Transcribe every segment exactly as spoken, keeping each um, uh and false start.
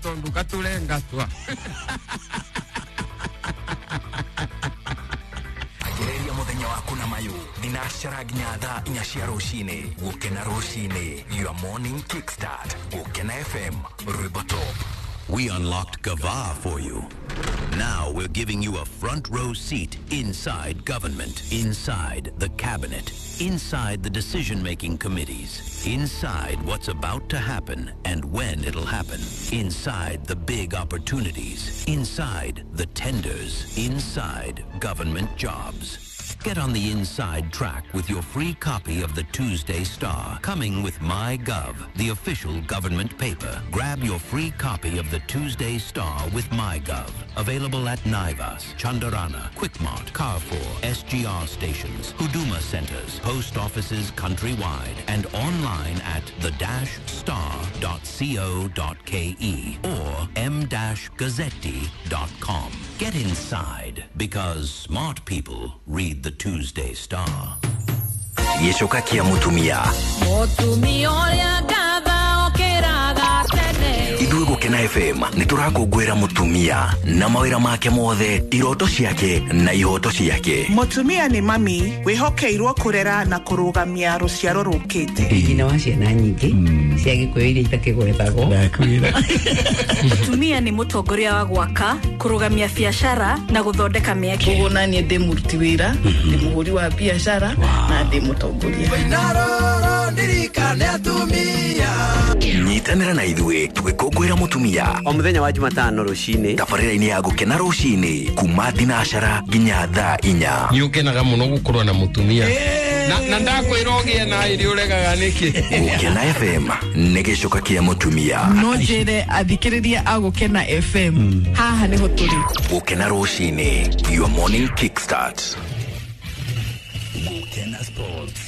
Tondu katurengatwa. Agereria muthenya waku na mayu thinacara nginya thaa inya cia rucini. Gukena rucini, your morning kickstart. Gukena F M, rwimbo top. We unlocked Gava for you. Now we're giving you a front row seat inside government, inside the cabinet, inside the decision-making committees, inside what's about to happen and when it'll happen, inside the big opportunities, inside the tenders, inside government jobs. Get on the inside track with your free copy of the Tuesday Star, coming with MyGov, the official government paper. Grab your free copy of the Tuesday Star with MyGov. Available at Naivas, Chandarana, Quickmart, Carrefour, S G R stations, Huduma centers, post offices countrywide, and online at the dash star dot co dot K E or m dash gazzetti dot com. Get inside, because smart people read the Tuesday Star. Gicoka kia mutumia. Mutumia uria ngatha okiraga tene. Ithuĩ Gũkena F M nĩ tũrakũngũĩra mũtumia na mawĩra make mothe, iroto ciake na ihoto ciake. Mũtumia nĩ mami wĩhokeirwo kũrera na kũrũgamia rũciaro rũkĩte. Nyina wa ciana nyingĩ cia Gĩkũyũ iria itakĩgwetagwo. Ndakwĩra. Mũtumia nĩ mũtongoria wa gwaka, kũrũgamia biacara na gũthondeka mĩeke. Koguo naniĩ ndĩ mũruti wĩra, ndĩ mũhũri wa biacara na ndĩ mũtongoria. Nyitanĩra na ithuĩ tũgĩkũngũĩra mũtumia o mũthenya wa Jumatano rũcinĩ tabarĩra-inĩ ya Gũkena rũcinĩ kuma thinacara nginya thaa inya. Nĩ ũkenaga mũno gũkorwo na mũtumia na, na ndakwĩra ũgĩe na ĩrĩ ũregaga nĩkĩ. Gũkena F M nĩ gĩcoka kĩa mũtumia. No njĩre athikĩrĩria a Gũkena F M haha nĩho tũrĩ. Gũkena rũcinĩ, your morning kickstart. Gũkena Sports.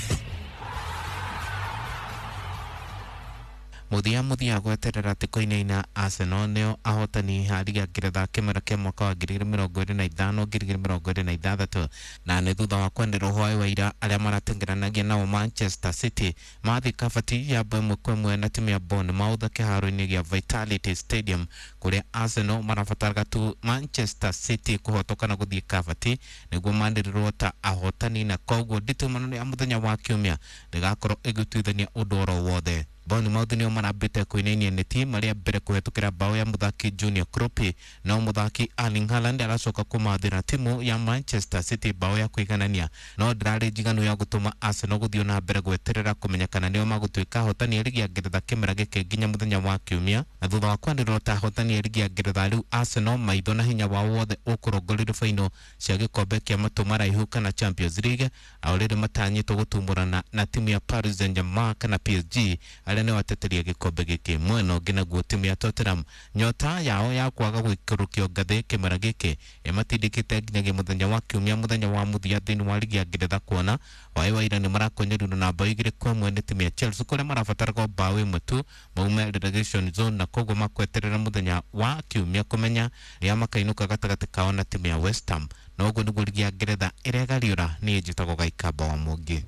Muthia muthia gweterera atĩ kũinaina Arsenal nĩo ahotani a rigi ya Ngeretha kĩmera kĩa mwaka wa ngiri igĩrĩ mĩrongo ĩrĩ na ithano ngiri igĩrĩ mĩrongo ĩrĩ na ithathatũ, na nĩ thutha wa kwenderwo hwaĩ wa ira arĩa maratengeranagia nao Manchester City mathiĩ kabati ya bao ĩmwe kwa ĩmwe na timu ya Bournemouth kĩharo-inĩ gĩa Vitality Stadium kũrĩa Arsenal marabataraga tu Manchester City kũhotwo kana gũthiĩ kabati nĩguo manĩrĩrwo ta ahotani, na koguo nditimano ya mũthenya wa kiumia ndĩgakorwo ĩgĩtuithania ũndũ oro wothe. Bournemouth nĩo marambĩte kũinainia neti marĩa mbere kũhetũkĩra bao ya mũthaki Junior Kroupi, no mũthaki Erling Haaland aracoka kũmathĩra timu ya Manchester City bao ya kũiganania, no ndĩrarĩ njiganu ya gũtũma Arsenal gũthiĩ na mbere gweterera kũmenya kana nĩo magũtuĩka ahotani a rigi ya Ngeretha kĩmera gĩkĩ nginya mũthenya wa kiumia. Na thutha wa kwanĩrĩrwo ta ahotani a rigi ya Ngeretha, rĩu Arsenal maitho na hinya wao wothe ũkũrongorerio baino cia gĩkombe kĩa matũ maraihu kana Champions League, ao rĩrĩ matanyĩtwo gũtumũrana na timu ya Paris Saint-Germain kana P S G arĩa nĩo ateteria gĩkombe gĩkĩ. Mwena ũngĩ naguo timu ya Tottenham nyota yao ya kwaga gũikũrũkio ngathĩ kĩmera gĩkĩ ĩmatindĩkĩte nginyagia mũthenya wa kiumia, mũthenya wa mũthia thĩinĩ wa rigi ya Ngeretha, kuona waĩ wa ira nĩ marakonyerirwo na bao igĩrĩ kwa ĩmwe nĩ timu ya Chelsea kũrĩa marabataraga bao ĩmwe tu maume relegation zone, na koguo makweterera mũthenya wa kiumia kũmenya rĩrĩa makainũka gatagatĩ kao na timu ya West Ham. Na ũguo nĩguo rigi ya Ngeretha ĩregariũra. Niĩ njĩtagwo Gaikamba wa Mũngĩ.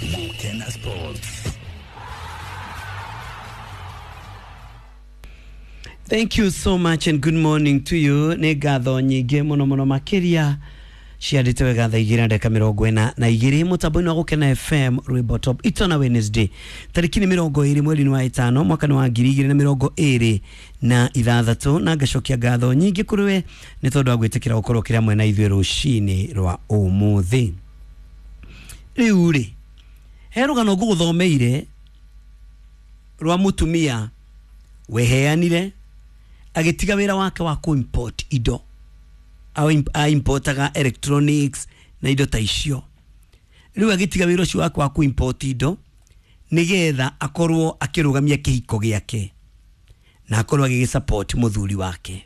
Gũkena Sports. Thank you so much and good morning to you. Nĩ ngatho nyingĩ mũno mũno makĩria ciandĩte wega thaa igĩrĩ na ndagĩka mĩrongo ĩna na igĩrĩ mũtambo-inĩ wa Gũkena F M rwĩmbo top itona Wednesday tarĩki nĩ mĩrongo ĩrĩ mweri-inĩ wa ĩtano mwaka nĩ wa ngiri igĩrĩ na mĩrongo ĩrĩ na ithathatũ, na ngacokia ngatho nyingĩ kũrĩ we nĩ tondũ wa gwĩtĩkĩra gũkorwo kĩrĩa mwena ithuĩ rũcinĩ rwa ũmũthĩ. Rĩu rĩ he rũgano ngũgũthomeire rwa mũtumia weheanire agĩtiga wĩra wake wa kũ-import indo, a importaga electronics na indo ta icio. Rĩu agĩtiga wĩra ũcio wake wa kũ-import indo nĩgetha akorwo akĩrũgamia kĩhiko gĩake na akorwo agĩgĩsupport mũthuri wake.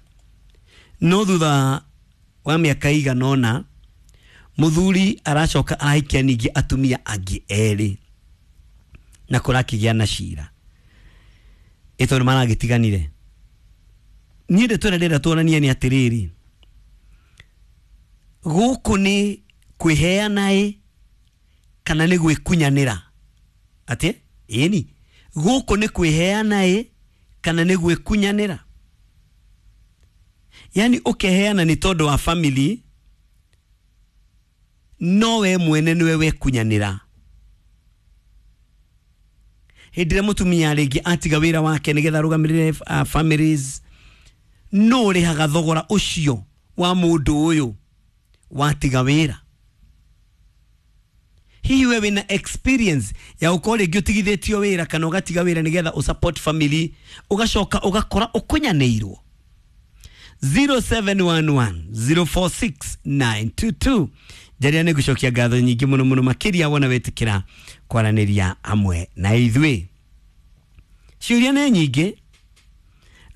No thutha wa mĩaka ĩigana ũna mũthuri aracoka arahikia ningĩ atumia angĩ erĩ na kũrakĩgĩa na cira ĩ tondũ maragĩtiganire. Niĩ ndeto ĩrĩa ndĩrenda tuonanie nĩ atĩrĩrĩ, gũkũ nĩ kwĩheana ĩ kana nĩ gwĩkunyanĩra? Atĩ ĩni gũkũ nĩ kwĩheana ĩ Kana nĩ gwĩkunyanĩra? Yani ũkeheana nĩ tondũ wa family, no we mwene nĩwe wekunyanĩra. Hĩndĩ ĩrĩa mũtumia rĩngĩ atiga wĩra wake nĩgetha arũgamĩrĩre uh, families, no ũrĩhaga thogora ũcio wa mũndũ ũyũ watiga wĩra. Hihi we wĩna experience ya ũkorwo rĩngĩ ũtigithĩtio wĩra kana ũgatiga wĩra nĩgetha ũsupport family, ũgacoka ũgakora ũkunyanĩirwo? zero seven one one zero four six nine two two. Njaria nĩ ngũcokia ngatho nyingĩ mũno mũno makĩria wona wetĩkĩra kwaranĩria hamwe na ithuĩ. Ciũria nĩ nyingĩ.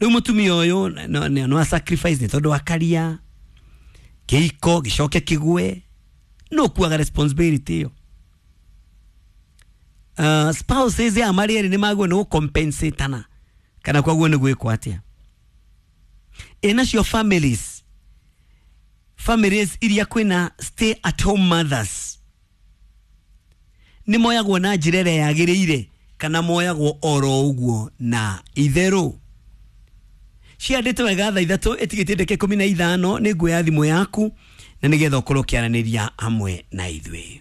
Rĩu mũtumia ũyũ no, no, no sacrifice nĩ tondũ wa karia kĩhiko gĩcoke kĩgwe, no kuaga responsibility ĩyo. Uh, spouses ya marĩ erĩ nĩ magwo nĩ gũcompensatana kana kwaguo nĩ gwĩkwo atĩa? Ĩ nacio families, families iria kwĩna stay at home mothers, nĩ moyagwo na njĩra ĩrĩa yagĩrĩire kana moyagwo oro ũguo na itherũ? Ciandĩte wega thaa ithatũ ĩtigĩtie ndagĩka ikũmi na ithano. Nĩ nguoya thimũ yaku na nĩgetha ũkorwo ũkĩaranĩria hamwe na ithuĩ.